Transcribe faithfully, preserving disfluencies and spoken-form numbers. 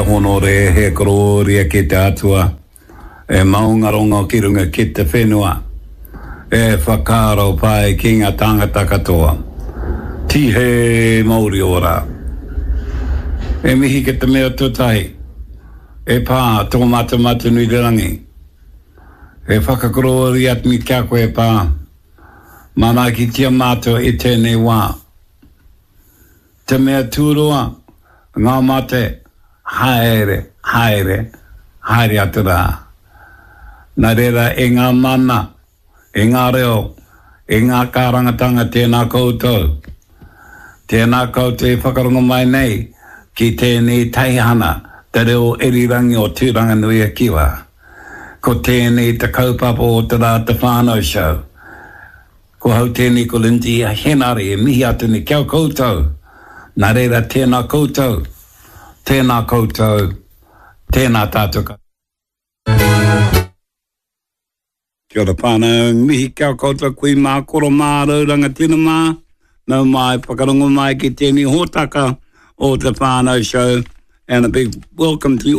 honore, he kororia ki te atua, e maungarongo ki runga ki te whenua, e whakaaro pai ki ngā tāngata katoa. Tihei mauri ora. E mihi ki te mea tuatahi, e pā tō Matematanui-te-rangi. E whakakorōria atu ki a koe e pā, manaakitia mātou i tēnei wā. Te mea tūroa, ngā mate, haere, haere, haere atu rā. Nā reira e ngā mana, e ngā reo, e ngā kārangatanga tēnā koutou. Tēnā koutou e whakarongo mai nei ki tēnei teihana te reo irirangi o Tūranganui-a-Kiwa. Ko tēnei te kaupapa o te rā Te Whānau Show. Ko hau tēnei ko Lindsay Henare e mihi atu nei ki a koutou. Nā reira tēnā koutou, tēnā koutou, tēnā tātou katoa. Kia ora whānau, mihi ki a koutou kui mā, koro mā, rau rangatira mā, nau mai, whakarongo mai ki tēnei hōtaka o Te Whānau Show and a big welcome to you.